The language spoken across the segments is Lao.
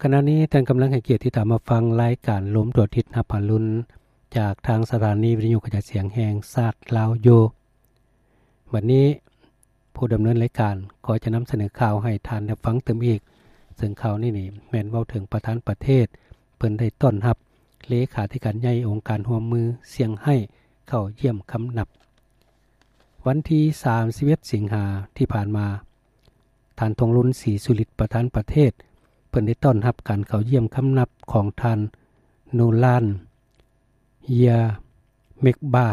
ຂະນະນີ້ທ່ານກຳລັງໃຫ້ກຽດຕິດຕາມຮັບຟັງລາຍການລົມທົ່ວທິດຮັບອາລຸນ ຈາກທາງສະຖານີວິທະຍຸກະຈາຍສຽງແຫ່ງຊາດລາວຢູ່. ບັດນີ້ຜູ້ດຳເນີນລາຍການກໍຈະນຳສະເໜີຂ່າວໃຫ້ທ່ານໄດ້ຟັງຕື່ມອີກ, ເຊິ່ງຂ່າວນີ້ນີ້ແມ່ນເວົ້າເຖິງປະທານປະເທດ ເພິ່ນໄດ້ຕ້ອນຮັບເລຂາທິການໃຫຍ່ອົງການຮ່ວມມືຊຽງໄຮ້ເຂົ້າຢ້ຽມຄຳນັບ. ວັນທີສາມສິບເອັດສິງຫາທີ່ຜ່ານມາ, ທ່ານ ທອງລຸນ ສີສຸລິດ ປະທານປະເທດ ເພິ່ນໄດ້ຕ້ອນຮັບການເຂົ້າຢ້ຽມຄຳນັບຂອງທ່ານ ໂນລານ ເຢຍເມັກບາ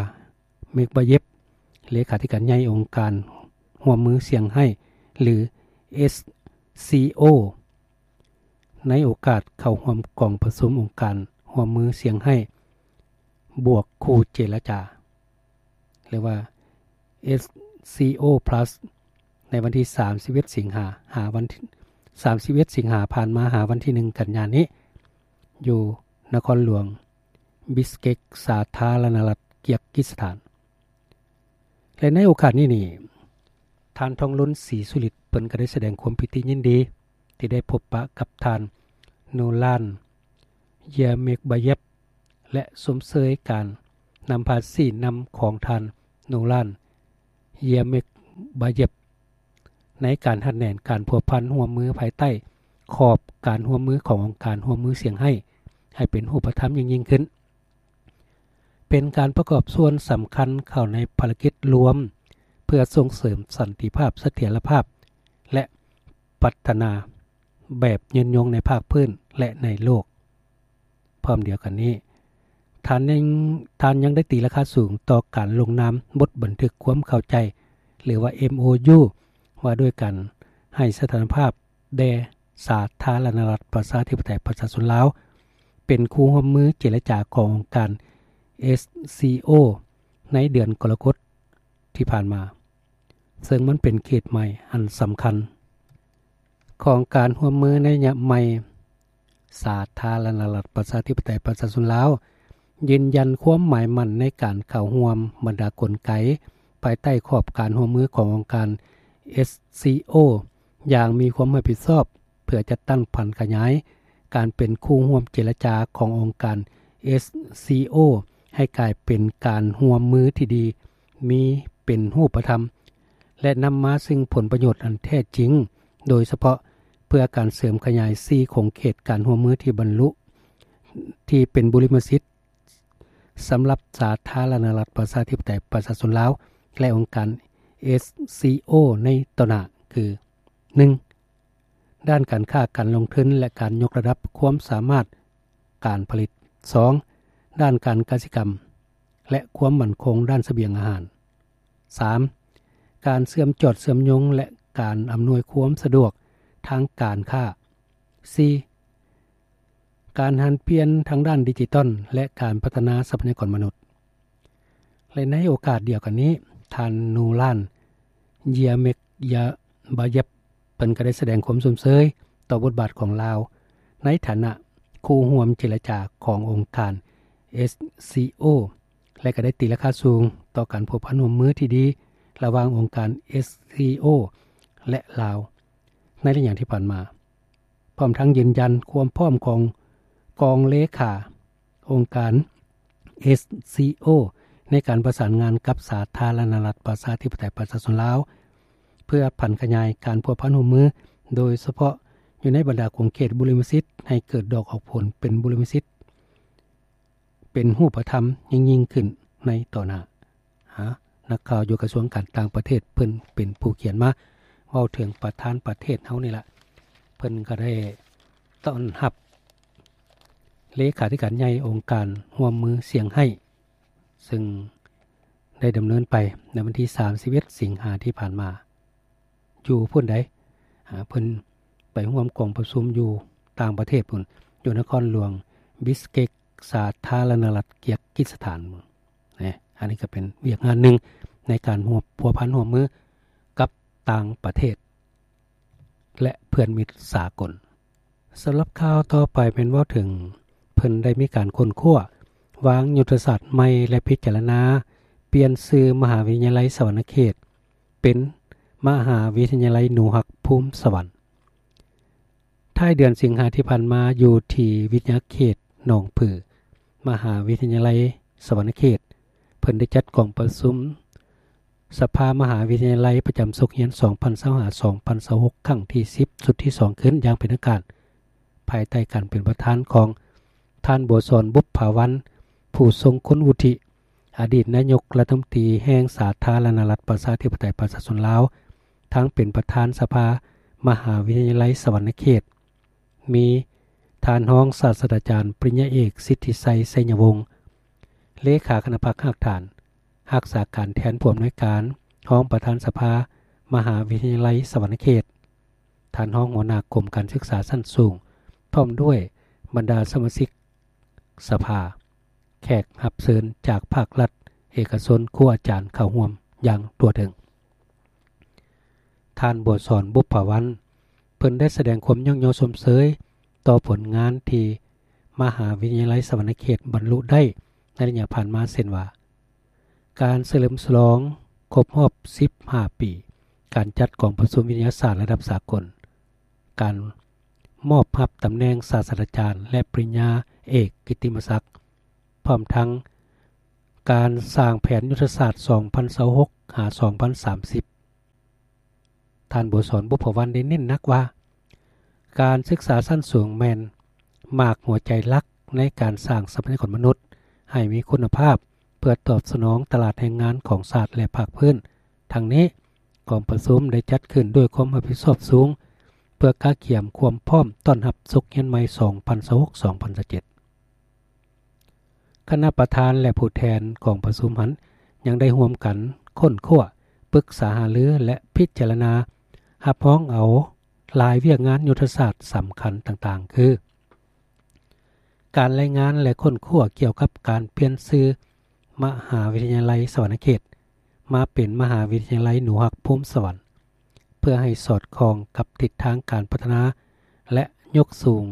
ເມັກບາເຢບ ເລຂາທິການໃຫຍ່ອົງການຮ່ວມມືຊຽງໄຮ້ ຫຼື ເອສຊີໂອ ໃນໂອກາດເຂົ້າຮ່ວມກອງປະຊຸມອົງການຮ່ວມມືຊຽງໄຮ້ ບວກຄູ່ເຈລະຈາ ຫຼືວ່າ ເອສຊີໂອ ພລັສ ໃນວັນທີສາມສິບເອັດສິງຫາ ຫາວັນທີ ສາມສິບເອັດສິງຫາຜ່ານມາ ຫາວັນທີໜຶ່ງກັນຍານີ້ ຢູ່ນະຄອນຫຼວງບິສເກກ ສາທາລະນະລັດເກີຍກກິສຖານ. ແລະ ໃນໂອກາດນີ້ນີ້ ທ່ານ ທອງລຸນ ສີສຸລິດ ເພິ່ນກໍໄດ້ສະແດງຄວາມປີຕິຍິນດີ ທີ່ໄດ້ພົບປະກັບທ່ານ ໂນລານ ເຢຍເມັກບາເຢບ ແລະ ຊົມເຊີຍການນຳພາຊີ້ນຳຂອງທ່ານ ໂນລານ ເຢຍເມັກບາເຢບ ໃນການຮັດແໜ້ນການພົວພັນຮ່ວມມືພາຍໃຕ້ຂອບການຮ່ວມມືຂອງອົງການຮ່ວມມືຊຽງໄຮ້ ໃຫ້ເປັນຮູບປະທຳຍິ່ງໆຂຶ້ນ, ເປັນການປະກອບສ່ວນສຳຄັນເຂົ້າໃນພາລະກິດລວມ ເພື່ອສົ່ງເສີມສັນຕິພາບ, ສະຖຽນລະພາບ ແລະ ພັດທະນາແບບຍືນຍົງໃນພາກພື້ນ ແລະ ໃນໂລກ. ພ້ອມດຽວກັນນີ້, ທ່ານຍັງ, ທ່ານຍັງໄດ້ຕີລາຄາສູງຕໍ່ການລົງນາມບົດບັນທຶກຄວາມເຂົ້າໃຈ ຫຼືວ່າ ເອັມໂອຢູ ວ່າດ້ວຍການໃຫ້ສະຖານະພາບແດ່ສາທາລະນະລັດປະຊາທິປະໄຕປະຊາຊົນລາວ ເປັນຄູ່ຮ່ວມມືເຈລະຈາຂອງອົງການ ເອສຊີໂອ ໃນເດືອນກໍລະກົດທີ່ຜ່ານມາ, ເຊິ່ງມັນເປັນເຂດໃໝ່ອັນສຳຄັນຂອງການຮ່ວມມືໃນໄລຍະໃໝ່. ສາທາລະນະລັດປະຊາທິປະໄຕປະຊາຊົນລາວ ຢືນຢັນຄວາມໝາຍໝັ້ນໃນການເຂົ້າຮ່ວມບັນດາກົນໄກ ພາຍໃຕ້ຂອບການຮ່ວມມືຂອງອົງການ ເອສຊີໂອ ຢ່າງມີຄວາມຮັບຜິດຊອບ ເພື່ອຈັດຕັ້ງຜັນຂະຫຍາຍການເປັນຄູ່ຮ່ວມເຈລະຈາຂອງອົງການ ເອສຊີໂອ ໃຫ້ກາຍເປັນການຮ່ວມມືທີ່ດີ ມີເປັນຮູບປະທຳ ແລະ ນຳມາຊຶ່ງຜົນປະໂຫຍດອັນແທ້ຈິງ, ໂດຍສະເພາະເພື່ອການເສີມຂະຫຍາຍສີ່ຂົງເຂດການຮ່ວມມືທີ່ບັນລຸ ທີ່ເປັນບຸລິມະສິດ ສຳລັບສາທາລະນະລັດປະຊາທິປະໄຕປະຊາຊົນລາວ ແລະ ອົງການ ເອສຊີໂອ ໃນຕໍ່ໜ້າ ຄື ໜຶ່ງ ດ້ານການຄ້າການລົງທຶນ ແລະ ການຍົກລະດັບຄວາມສາມາດການຜະລິດ, ສອງ ດ້ານການກະສິກຳ ແລະ ຄວາມໝັ້ນຄົງດ້ານສະບຽງອາຫານ, ສາມ ການເຊື່ອມຈອດເຊື່ອມໂຍງ ແລະ ການອຳນວຍຄວາມສະດວກທາງການຄ້າ, ສີ່ ການຫັນປ່ຽນທາງດ້ານດິຈິຕອນ ແລະ ການພັດທະນາຊັບພະຍາກອນມະນຸດ. ແລະ ໃນໂອກາດດຽວກັນນີ້, ທ່ານ ນູຣານ ເຢຍເມັກຢາບາເຢບ ເພິ່ນກໍໄດ້ສະແດງຄວາມຊົມເຊີຍຕໍ່ບົດບາດຂອງລາວ ໃນຖານະຄູ່ຮ່ວມເຈລະຈາຂອງອົງການ ເອສຊີໂອ ແລະ ກໍໄດ້ຕີລາຄາສູງຕໍ່ການພົວພັນຮ່ວມມືທີ່ດີລະຫວ່າງອົງການ ເອສຊີໂອ ແລະ ລາວ ໃນໄລຍະທີ່ຜ່ານມາ. ພ້ອມທັງຢືນຢັນຄວາມພ້ອມຂອງກອງເລຂາອົງການ ເອສຊີໂອ ໃນການປະສານງານກັບສາທາລະນະລັດປະຊາທິປະໄຕປະຊາຊົນລາວ ເພື່ອຜັນຂະຫຍາຍການພົວພັນຮ່ວມມື, ໂດຍສະເພາະຢູ່ໃນບັນດາຂົງເຂດບຸລິມະສິດ ໃຫ້ເກີດດອກອອກຜົນເປັນບຸລິມະສິດ ເປັນຮູບປະທຳຍິ່ງໆຂຶ້ນໃນຕໍ່ໜ້າ. ຫາ ນັກຂ່າວຢູ່ກະຊວງການຕ່າງປະເທດ ເພິ່ນເປັນຜູ້ຂຽນມາເວົ້າເຖິງປະທານປະເທດເຮົານີ້ລະ, ເພິ່ນກໍໄດ້ຕ້ອນຮັບເລຂາທິການໃຫຍ່ອົງການຮ່ວມມືຊຽງໄຮ້ ເຊິ່ງໄດ້ດຳເນີນໄປໃນວັນທີສາມສິບເອັດສິງຫາທີ່ຜ່ານມາ. ຢູ່ພຸ້ນໃດ໋ ອາ ເພິ່ນໄປຮ່ວມກອງປະຊຸມຢູ່ຕ່າງປະເທດພຸ້ນ ຢູ່ນະຄອນຫຼວງບິສເກກ ສາທາລະນະລັດເກີຍກກິສຖານ. ອັນນີ້ກໍເປັນວຽກງານໜຶ່ງໃນການຮ່ວມ ພົວພັນຮ່ວມມືກັບຕ່າງປະເທດ ແລະ ເພື່ອນມິດສາກົນ. ສຳລັບຂ່າວຕໍ່ໄປແມ່ນເວົ້າເຖິງ ເພິ່ນໄດ້ມີການຄົ້ນຄວ້າ ວາງຍຸດທະສາດໃໝ່ ແລະ ພິຈາລະນາປ່ຽນຊື່ມະຫາວິທະຍາໄລສະຫວັນນະເຂດ ເປັນມະຫາວິທະຍາໄລໜູຮັກພູມສະຫວັນ. ທ້າຍເດືອນສິງຫາທີ່ຜ່ານມາ ຢູ່ທີ່ວິທະຍາເຂດໜອງຜື ມະຫາວິທະຍາໄລສະຫວັນນະເຂດ ເພິ່ນໄດ້ຈັດກອງປະຊຸມສະພາມະຫາວິທະຍາໄລປະຈຳສົກຮຽນ ສອງພັນຊາວຫ້າ ສອງພັນຊາວຫົກ ຄັ້ງທີສິບ ຊຸດທີສອງ ຂຶ້ນຢ່າງເປັນທາງການ ພາຍໃຕ້ການເປັນປະທານຂອງທ່ານ ບົວສອນ ບຸບຜາວັນ ຜູ້ຊົງຄຸນວຸດທິ ອະດີດນາຍົກລັດຖະມົນຕີແຫ່ງສາທາລະນະລັດ ປະຊາທິປະໄຕ ປະຊາຊົນລາວ ທັງເປັນປະທານສະພາມະຫາວິທະຍາໄລສະຫວັນນະເຂດ, ມີທ່ານຮອງສາດສະດາຈານ ປະລິນຍາເອກ ສິດທິໄຊ ໄຊຍະວົງ ເລຂາຄະນະພັກຮາກຖານ, ຮັກສາການແທນຜູ້ອຳນວຍການ, ຮອງປະທານສະພາມະຫາວິທະຍາໄລສະຫວັນນະເຂດ, ທ່ານຮອງຫົວໜ້າກົມການສຶກສາຊັ້ນສູງ ພ້ອມດ້ວຍບັນດາສະມາຊິກສະພາ, ແຂກຮັບເຊີນຈາກພາກລັດ, ເອກະຊົນ, ຄູອາຈານເຂົ້າຮ່ວມຢ່າງທົ່ວເຖິງ. ທ່ານ ບົວສອນ ບຸບຜາວັນ ເພິ່ນໄດ້ສະແດງຄວາມຍ້ອງຍໍຊົມເຊີຍຕໍ່ຜົນງານທີ່ມະຫາວິທະຍາໄລສະຫວັນນະເຂດບັນລຸໄດ້ໃນໄລຍະຜ່ານມາ ເຊັ່ນວ່າ ການສະເຫຼີມສະຫຼອງຄົບຮອບສິບຫ້າປີ ການຈັດກອງປະຊຸມວິທະຍາສາດລະດັບສາກົນ, ການມອບຮັບຕຳແໜ່ງສາດສະດາຈານ ແລະ ປະລິນຍາເອກກິດຕິມະສັກ, ພ້ອມທັງການສ້າງແຜນຍຸດທະສາດ ສອງພັນຊາວຫົກ ຫາ ສອງພັນສາມສິບ. ທ່ານ ບົວສອນ ບຸບຜາວັນ ໄດ້ເນັ້ນໜັກວ່າ ການສຶກສາຊັ້ນສູງແມ່ນໝາກຫົວໃຈຫຼັກໃນການສ້າງຊັບພະຍາກອນມະນຸດໃຫ້ມີຄຸນນະພາບ ເພື່ອຕອບສະໜອງຕະຫຼາດແຮງງານຂອງຊາດ ແລະ ພາກພື້ນ. ທັງນີ້, ກອງປະຊຸມໄດ້ຈັດຂຶ້ນດ້ວຍຄວາມຮັບຜິດຊອບສູງ ເພື່ອກະກຽມຄວາມພ້ອມຕ້ອນຮັບສົກຮຽນໃໝ່ ສອງພັນຊາວຫົກ ສອງພັນຊາວເຈັດ. ຄະນະປະທານ ແລະ ຜູ້ແທນກອງປະຊຸມຫັ້ນ ຍັງໄດ້ຮ່ວມກັນຄົ້ນຄວ້າ, ປຶກສາຫາລື ແລະ ພິຈາລະນາຮັບຮອງເອົາຫຼາຍວຽກງານຍຸດທະສາດສຳຄັນຕ່າງໆ ຄື ການລາຍງານ ແລະ ຄົ້ນຄວ້າກ່ຽວກັບການປ່ຽນຊື່ມະຫາວິທະຍາໄລສະຫວັນນະເຂດ ມາເປັນມະຫາວິທະຍາໄລໜູຮັກພູມສະຫວັນ ເພື່ອໃຫ້ສອດຄ່ອງກັບທິດທາງການພັດທະນາ ແລະ ຍົກສູງ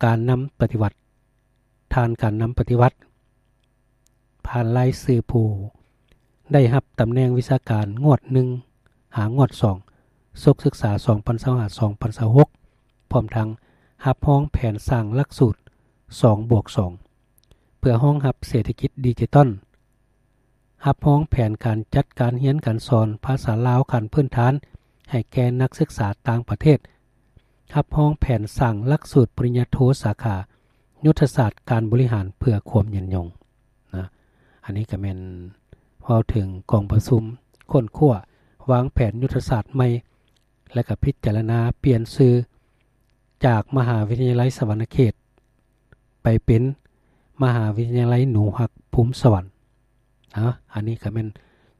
ການນຳປະຕິວັດ, ທ່ານການນຳປະຕິວັດ ຜ່ານລາຍຊື່ຜູ້ໄດ້ຮັບຕຳແໜ່ງວິຊາການງວດໜຶ່ງ ຫາງວດສອງ ສົກສຶກສາ ສອງພັນຊາວຫ້າ ສອງພັນຊາວຫົກ ພ້ອມທັງຮັບຮອງແຜນສ້າງຫຼັກສູດ ສອງບວກສອງ ເພື່ອຮອງຮັບເສດຖະກິດດິຈິຕອນ, ຮັບຮອງແຜນການຈັດການຮຽນການສອນພາສາລາວຂັ້ນພື້ນຖານໃຫ້ແກ່ນັກສຶກສາຕ່າງປະເທດ, ຮັບຮອງແຜນສ້າງຫຼັກສູດປະລິນຍາໂທສາຂາຍຸດທະສາດການບໍລິຫານເພື່ອຄວາມຍືນຍົງນະ. ອັນນີ້ກໍແມ່ນເວົ້າເຖິງກອງປະຊຸມຄົ້ນຄວ້າວາງແຜນຍຸດທະສາດໃໝ່ ແລະ ກໍພິຈາລະນາປ່ຽນຊື່ຈາກມະຫາວິທະຍາໄລສະຫວັນນະເຂດ ໄປເປັນມະຫາວິທະຍາໄລໜູຮັກພູມສະຫວັນ. ເນາະ ອັນນີ້ກໍແມ່ນ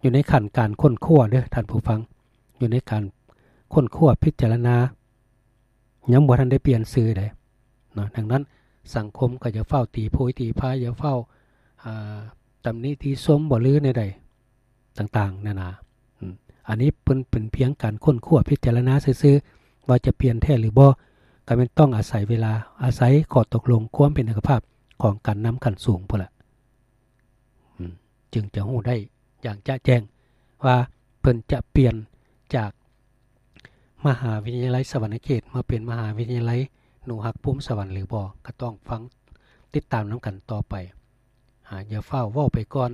ຢູ່ໃນຂັ້ນການຄົ້ນຄວ້າເດີ້ທ່ານຜູ້ຟັງ, ຢູ່ໃນການຄົ້ນຄວ້າພິຈາລະນາ ຍັງບໍ່ທັນໄດ້ປ່ຽນຊື່ເດ້ເນາະ. ດັ່ງນັ້ນ ສັງຄົມກໍຢ່າຟ້າວຕີໂພຍຕີພາຍ, ຢ່າຟ້າວ ອ່າ ຕຳໜິຕິຊົມບໍ ຫຼື ແນວໃດ ຕ່າງໆນານາ. ອືມ ອັນນີ້ເພິ່ນເປັນພຽງການຄົ້ນຄວ້າພິຈາລະນາຊື່ໆ ວ່າຈະປ່ຽນແທ້ຫຼືບໍ່, ກໍແມ່ນຕ້ອງອາໄສເວລາ, ອາໄສຂໍ້ຕົກລົງຄວາມເປັນເອກະພາບຂອງການນຳຂັ້ນສູງພຸ້ນລະ ອືມ ຈຶ່ງຈະຮູ້ໄດ້ຢ່າງຈະແຈ້ງວ່າເພິ່ນຈະປ່ຽນຈາກມະຫາວິທະຍາໄລສະຫວັນນະເຂດ ມາເປັນມະຫາວິທະຍາໄລໜູຮັກພູມສະຫວັນຫຼືບໍ່, ກໍຕ້ອງຟັງຕິດຕາມນຳກັນຕໍ່ໄປ. ອາ ຢ່າຟ້າວເວົ້າໄປກ່ອນ,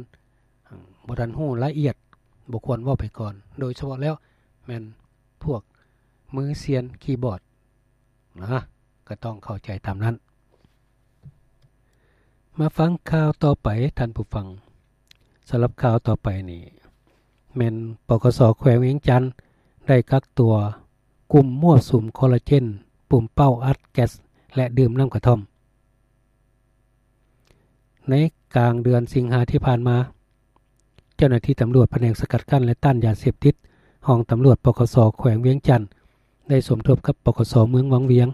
ບໍ່ທັນຮູ້ລະອຽດ ບໍ່ຄວນເວົ້າໄປກ່ອນ, ໂດຍສະເພາະແລ້ວແມ່ນພວກມືຊຽນຄີບອດນະ, ກໍຕ້ອງເຂົ້າໃຈຕາມນັ້ນ. ມາຟັງຂ່າວຕໍ່ໄປທ່ານຜູ້ຟັງ. ສຳລັບຂ່າວຕໍ່ໄປນີ້ ແມ່ນ ປກສ ແຂວງວຽງຈັນ ໄດ້ກັກຕົວກຸ່ມມົ້ວສຸມຄໍລາເຈນ, ປູມເປົ້າອັດແກັສ ແລະ ດື່ມນ້ຳກະທ່ອມ. ໃນກາງເດືອນສິງຫາທີ່ຜ່ານມາ, ເຈົ້າໜ້າທີ່ຕຳຫຼວດພະແນກສະກັດກັ້ນ ແລະ ຕ້ານຢາເສບຕິດ ຫ້ອງຕຳຫຼວດ ປກສ ແຂວງວຽງຈັນ ໄດ້ສົມທົບກັບ ປກສ ເມືອງວັງວຽງ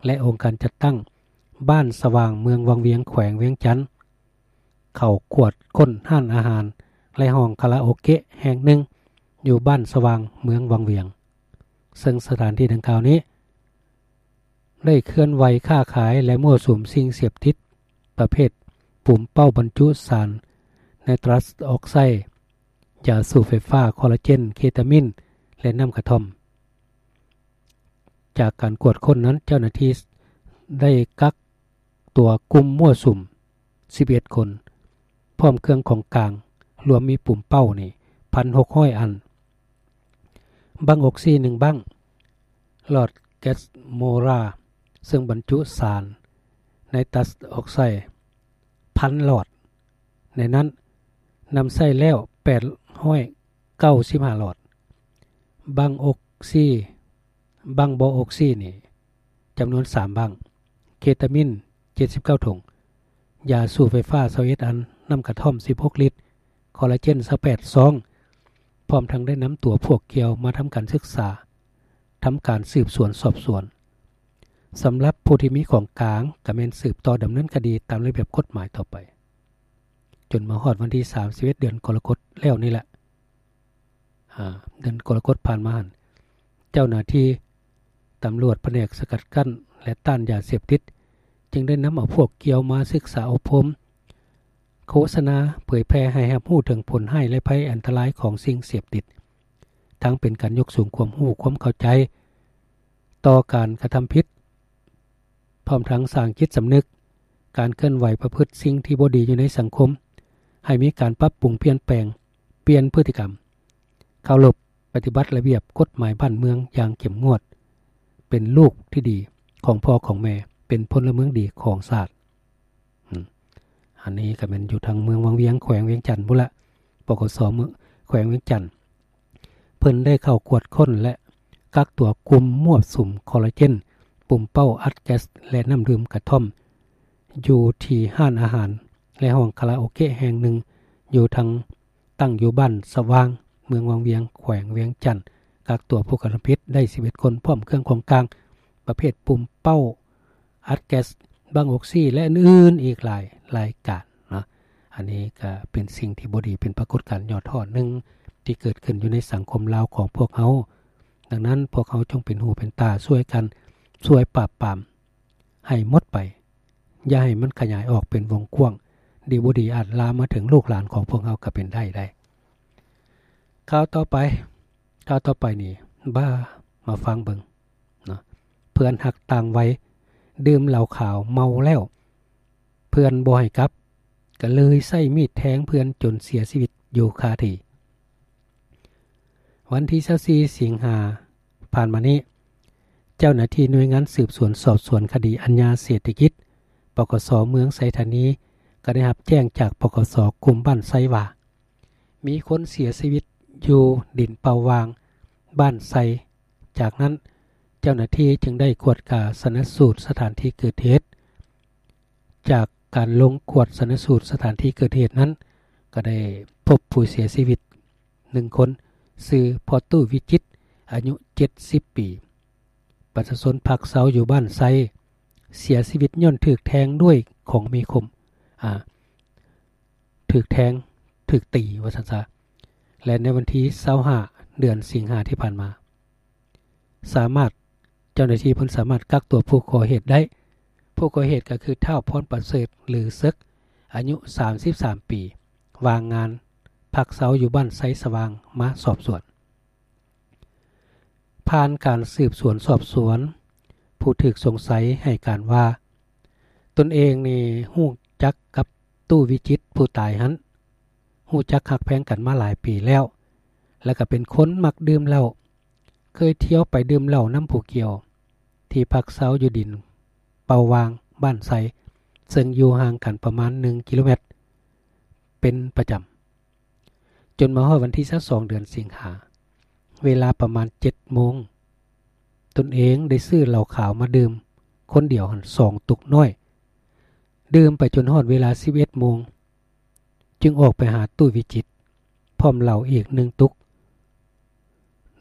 ແລະ ອົງການຈັດຕັ້ງບ້ານສະຫວ່າງ ເມືອງວັງວຽງ ແຂວງວຽງຈັນ ເຂົ້າກວດຄົ້ນຮ້ານອາຫານ ແລະ ຫ້ອງຄາຣາໂອເກະແຫ່ງໜຶ່ງຢູ່ບ້ານສະຫວ່າງ ເມືອງວັງວຽງ, ເຊິ່ງສະຖານທີ່ດັ່ງກ່າວນີ້ ໄດ້ເຄື່ອນໄຫວຄ້າຂາຍ ແລະ ມົ້ວສຸມສິ່ງເສບຕິດປະເພດປູມເປົ້າບັນຈຸສານໄນຕຣັສອອກໄຊ, ຢາສູບໄຟຟ້າ, ຄໍລາເຈນ, ເຄຕາມິນ ແລະ ນ້ຳກະທ່ອມ. ຈາກການກວດຄົ້ນນັ້ນ ເຈົ້າໜ້າທີ່ໄດ້ກັກຕົວກຸ່ມມົ້ວສຸມສິບເອັດຄົນ ພ້ອມເຄື່ອງຂອງກາງ ລວມມີປຸມເປົ້ານີ້ ໜຶ່ງພັນຫົກຮ້ອຍອັນ, ບັ້ງອົກຊີໜຶ່ງບັ້ງ, ຫຼອດແກັສໂມລາ ເຊິ່ງບັນຈຸສານໄນຕັສອອກໄຊ ພັນຫຼອດ, ໃນນັ້ນນຳໃຊ້ແລ້ວແປດຮ້ອຍເກົ້າສິບຫ້າຫຼອດ, ບັ້ງອົກຊີ ບັ້ງບໍ່ອົກຊີນີ້ ຈຳນວນສາມບັ້ງ, ເຄຕາມິນເຈັດສິບເກົ້າຖົງ, ຢາສູບໄຟຟ້າຊາວເອັດອັນ, ນ້ຳກະທ່ອມສິບຫົກລິດ, ຄໍລາເຈນຊາວແປດຊອງ, ພ້ອມທັງໄດ້ນຳຕົວພວກກ່ຽວມາທຳການສຶກສາ, ທຳການສືບສວນສອບສວນ. ສຳລັບຜູ້ທີ່ມີຂອງກາງ ກໍແມ່ນສືບຕໍ່ດຳເນີນຄະດີຕາມລະບຽບກົດໝາຍຕໍ່ໄປ. ຈົນມາຮອດວັນທີສາມສິບເອັດ ເດືອນກໍລະກົດແລ້ວນີ້ແຫຼະ ອາ ເດືອນກໍລະກົດຜ່ານມາຫັ້ນ ເຈົ້າໜ້າທີ່ຕຳຫຼວດພະແນກສະກັດກັ້ນ ແລະ ຕ້ານຢາເສບຕິດ ຈຶ່ງໄດ້ນຳເອົາພວກກ່ຽວມາສຶກສາອົບຮົມ, ໂຄສະນາເຜີຍແຜ່ໃຫ້ຮັບຮູ້ເຖິງຜົນຮ້າຍ ແລະ ໄພອັນຕະລາຍຂອງສິ່ງເສບຕິດ, ທັງເປັນການຍົກສູງຄວາມຮູ້ຄວາມເຂົ້າໃຈຕໍ່ການກະທຳຜິດ, ພ້ອມທັງສ້າງຈິດສຳນຶກ ການເຄື່ອນໄຫວປະພຶດສິ່ງທີ່ບໍ່ດີຢູ່ໃນສັງຄົມ, ໃຫ້ມີການປັບປຸງປ່ຽນແປງ, ປ່ຽນພຶດຕິກຳ, ເຄົາລົບປະຕິບັດລະບຽບກົດໝາຍບ້ານເມືອງຢ່າງເຂັ້ມງວດ, ເປັນລູກທີ່ດີຂອງພໍ່ຂອງແມ່, ເປັນພົນລະເມືອງດີຂອງຊາດ. ອືມ ອັນນີ້ກໍແມ່ນຢູ່ທາງເມືອງວັງວຽງ ແຂວງວຽງຈັນພຸ້ນລະ, ປກສ ເມືອງ ແຂວງວຽງຈັນ ເພິ່ນໄດ້ເຂົ້າກວດຄົ້ນ ແລະ ກັກຕົວກຸ່ມມົ້ວສຸມຄໍລາເຈນ, ປຸມເປົ້າອັດແກັສ ແລະ ນ້ຳດື່ມກະທ່ອມ ຢູ່ທີ່ຮ້ານອາຫານ ແລະ ຫ້ອງຄາຣາໂອເກະແຫ່ງໜຶ່ງ ຢູ່ທາງ ຕັ້ງຢູ່ບ້ານສະຫວ່າງ ເມືອງວັງວຽງ ແຂວງວຽງຈັນ, ກັກຕົວຜູ້ກະທຳຜິດໄດ້ສິບເອັດຄົນ ພ້ອມເຄື່ອງຂອງກາງ ປະເພດປຸມເປົ້າອັດແກັສ, ບັ້ງອົກຊີ ແລະ ອື່ນໆອີກຫຼາຍລາຍການເນາະ. ອັນນີ້ກໍເປັນສິ່ງທີ່ບໍ່ດີ, ເປັນປາກົດການຫຍໍ້ທໍ້ໜຶ່ງທີ່ເກີດຂຶ້ນຢູ່ໃນສັງຄົມລາວຂອງພວກເຮົາ. ດັ່ງນັ້ນ ພວກເຮົາຈົ່ງເປັນຫູເປັນຕາຊ່ວຍກັນ, ຊ່ວຍປາບປາມໃຫ້ໝົດໄປ, ຢ່າໃຫ້ມັນຂະຫຍາຍອອກເປັນວົງກວ້າງ, ດີບໍ່ດີອາດລາມມາເຖິງລູກຫຼານຂອງພວກເຮົາກໍເປັນໄດ້ໄດ໋. ຂ່າວຕໍ່ໄປ, ຂ່າວຕໍ່ໄປນີ້ ບ້າ ມາຟັງເບິ່ງເນາະ. ເພື່ອນຮັກຕ່າງໄວ ດື່ມເຫຼົ້າຂາວເມົາແລ້ວ ເພື່ອນບໍ່ໃຫ້ກັບ ກໍເລີຍໃຊ້ມີດແທງເພື່ອນຈົນເສຍຊີວິດຢູ່ຄາທີ່. ວັນທີຊາວສີ່ ສິງຫາ ຜ່ານມານີ້, ເຈົ້າໜ້າທີ່ໜ່ວຍງານສືບສວນສອບສວນຄະດີອາຍາເສດຖະກິດ ປກສ ເມືອງໄຊທານີ ກໍໄດ້ຮັບແຈ້ງຈາກ ປກສ ກຸ່ມບ້ານໄຊວ່າ ມີຄົນເສຍຊີວິດຢູ່ດິນເປົ່າຫວ່າງ ບ້ານໄຊ. ຈາກນັ້ນ ເຈົ້າໜ້າທີ່ຈຶ່ງໄດ້ກວດກາຊະນະສູດສະຖານທີ່ເກີດເຫດ. ຈາກການລົງກວດຊະນະສູດສະຖານທີ່ເກີດເຫດນັ້ນ ກໍໄດ້ພົບຜູ້ເສຍຊີວິດໜຶ່ງຄົນ, ຊື່ ພໍ່ຕູ້ ວິຈິດ ອາຍຸເຈັດສິບປີ, ປະຊາຊົນພັກເຊົາຢູ່ບ້ານໄຊ, ເສຍຊີວິດຍ້ອນຖືກແທງດ້ວຍຂອງມີຄົມ, ອາ, ຖືກແທງ, ຖືກຕີ ວ່າຊັ້ນຊະ. ແລະ ໃນວັນທີຊາວຫ້າ ເດືອນສິງຫາທີ່ຜ່ານມາ, ສາມາດ, ເຈົ້າໜ້າທີ່ເພິ່ນສາມາດກັກຕົວຜູ້ກໍ່ເຫດໄດ້. ຜູ້ກໍ່ເຫດກໍຄື ທ້າວ ພອນປະເສີດ ຫຼື ເສິກ ອາຍຸສາມສິບສາມປີ, ວ່າງງານ, ພັກເຊົາຢູ່ບ້ານໄຊສະຫວ່າງ ມາສອບສວນ. ຜ່ານການສືບສວນສອບສວນ, ຜູ້ຖືກສົງໄສໃຫ້ການວ່າ ຕົນເອງນີ້ຮູ້ຈັກກັບ ຕູ້ ວິຈິດ ຜູ້ຕາຍຫັ້ນ ຮູ້ຈັກຮັກແພງກັນມາຫຼາຍປີແລ້ວ ແລະ ກໍເປັນຄົນມັກດື່ມເຫຼົ້າ, ເຄີຍທ່ຽວໄປດື່ມເຫຼົ້ານຳຜູ້ກ່ຽວ ທີ່ພັກເຊົາຢູ່ດິນເປົ່າຫວ່າງ ບ້ານໄຊ, ເຊິ່ງຢູ່ຫ່າງກັນປະມານໜຶ່ງກິໂລແມັດ ເປັນປະຈຳ. ຈົນມາຮອດວັນທີຊາວສອງ ເດືອນສິງຫາ, ເວລາປະມານເຈັດໂມງ, ຕົນເອງໄດ້ຊື້ເຫຼົ້າຂາວມາດື່ມຄົນດຽວຫັ້ນສອງຕຸກນ້ອຍ, ດື່ມໄປຈົນຮອດເວລາສິບເອັດໂມງ, ຈຶ່ງອອກໄປຫາຕູ້ ວິຈິດ ພ້ອມເຫຼົ້າອີກໜຶ່ງຕຸກ,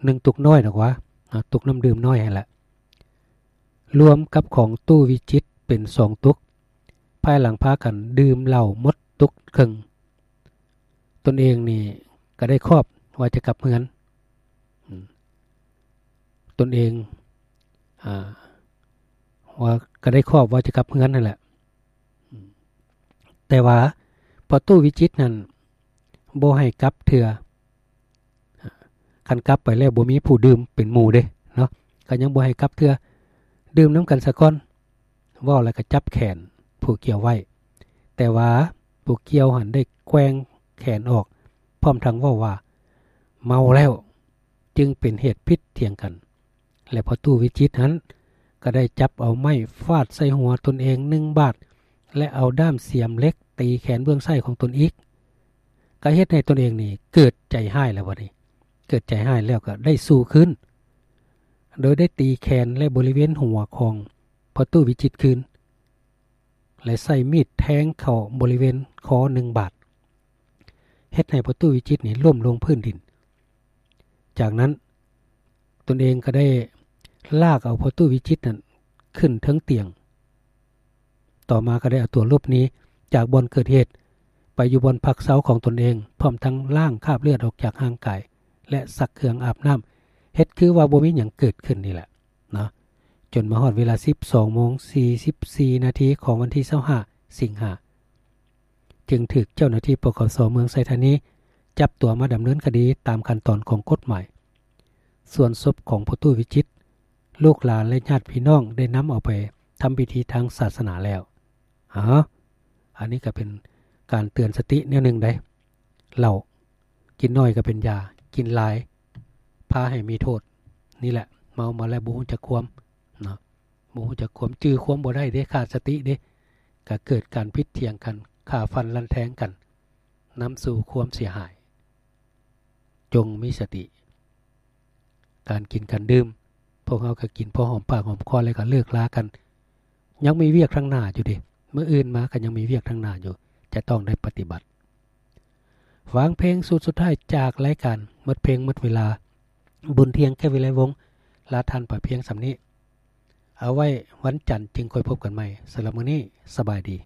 ໜຶ່ງຕຸກນ້ອຍດອກຫວາ, ອາ, ຕຸກນ້ຳດື່ມນ້ອຍຫັ້ນແຫຼະ. ລວມກັບຂອງຕູ້ ວິຈິດ ເປັນສອງຕຸກ, ພາຍຫຼັງພາກັນດື່ມເຫຼົ້າໝົດຕຸກເຄິ່ງ, ຕົນເອງນີ້ກໍໄດ້ຄອບວ່າຈະກັບເຮືອນ, ອາ, ຕົນເອງ, ອາ, ວ່າ, ກໍໄດ້ຄອບວ່າຈະກັບເຮືອນຫັ້ນແຫຼະ. ແຕ່ວ່າພໍ່ຕູ້ ວິຈິດ ນັ້ນບໍ່ໃຫ້ກັບເທື່ອ. ຄັນກັບໄປແລ້ວບໍ່ມີຜູ້ດື່ມເປັນໝູ່ເດ້ເນາະ, ກໍຍັງບໍ່ໃຫ້ກັບເທື່ອ. ດື່ມນຳກັນສາກ່ອນ. ເວົ້າແລ້ວກໍຈັບແຂນຜູ້ກ່ຽວໄວ້, ແຕ່ວ່າຜູ້ກ່ຽວຫັ້ນໄດ້ແກວ່ງແຂນອອກ ພ້ອມທັງເວົ້າວ່າ ເມົາແລ້ວ ຈຶ່ງເປັນເຫດຜິດຖຽງກັນ ແລະ ພໍ່ຕູ້ວິຈິດຫັ້ນກໍໄດ້ຈັບເອົາໄມ້ຟາດໃສ່ຫົວຕົນເອງໜຶ່ງບາດ ແລະ ເອົາດ້າມສຽມເຫຼັກຕີແຂນເບື້ອງຊ້າຍຂອງຕົນອີກ. ກໍເຮັດໃຫ້ຕົນເອງນີ້ເກີດໃຈຮ້າຍແລ້ວບັດນີ້, ເກີດໃຈຮ້າຍແລ້ວກໍໄດ້ສູ້ຄືນ ໂດຍໄດ້ຕີແຂນ ແລະ ບໍລິເວນຫົວຂອງພໍ່ຕູ້ວິຈິດຄືນ ແລະ ໃຊ້ມີດແທງເຂົ້າບໍລິເວນຄໍໜຶ່ງບາດ ເຮັດໃຫ້ພໍ່ຕູ້ວິຈິດນີ້ລົ້ມລົງພື້ນດິນ. ຈາກນັ້ນຕົນເອງກໍໄດ້ລາກເອົາພໍ່ຕູ້ວິຈິດນັ້ນຂຶ້ນເທິງຕຽງ. ຕໍ່ມາກໍໄດ້ເອົາຕົວຫຼົບໜີຈາກບ່ອນເກີດເຫດ ໄປຢູ່ບ່ອນພັກເຊົາຂອງຕົນເອງ, ພ້ອມທັງລ້າງຄາບເລືອດອອກຈາກຮ່າງກາຍ ແລະ ຊັກເຄື່ອງອາບນ້ຳ, ເຮັດຄືວ່າບໍ່ມີຫຍັງເກີດຂຶ້ນນີ້ແຫຼະເນາະ. ຈົນມາຮອດເວລາສິບສອງໂມງສີ່ສິບສີ່ນາທີຂອງວັນທີຊາວຫ້າ ສິງຫາ ຈຶ່ງຖືກເຈົ້າໜ້າທີ່ ປກສ ເມືອງໄຊທານີ ຈັບຕົວມາດຳເນີນຄະດີຕາມຂັ້ນຕອນຂອງກົດໝາຍ. ສ່ວນສົບຂອງພໍ່ຕູ້ວິຈິດ ລູກຫຼານ ແລະ ຍາດພີ່ນ້ອງໄດ້ນຳເອົາໄປທຳພິທີທາງສາສະໜາແລ້ວ. ເອົາ ອັນນີ້ກໍເປັນການເຕືອນສະຕິແນວໜຶ່ງໃດ໋. ເຫຼົ້າ ກິນໜ້ອຍກໍເປັນຢາ, ກິນຫຼາຍພາໃຫ້ມີໂທດ. ນີ້ແຫຼະ ເມົາມາແລ້ວບໍ່ຮູ້ຈັກຄວາມເນາະ, ບໍ່ຮູ້ຈັກຄວາມ, ຈື່ຄວາມບໍ່ໄດ້ເດ້, ຂາດສະຕິເດ້, ກໍເກີດການຜິດຖຽງກັນ, ຂ້າຟັນລັນແທງກັນ, ນຳສູ່ຄວາມເສຍຫາຍ. ຈົ່ງມີສະຕິ ການກິນການດື່ມ, ພວກເຮົາກໍກິນພໍຫອມປາກຫອມຄໍແລ້ວກໍເລີກລາກັນ. ຍັງມີວຽກທາງໜ້າຢູ່ເດ້, ມື້ອື່ນມາກໍຍັງມີວຽກທາງໜ້າຢູ່, ຈະຕ້ອງໄດ້ປະຕິບັດ. ຟັງເພງຊຸດສຸດທ້າຍຈາກລາຍການໝົດເພງໝົດເວລາ, ບຸນທຽງ ແກ້ວວິໄລວົງ ລາທ່ານໄປພຽງສ່ຳນີ້. ເອົາໄວ້ວັນຈັນຈຶ່ງຄ່ອຍພົບກັນໃໝ່. ສຳລັບມື້ນີ້ ສະບາຍດີ.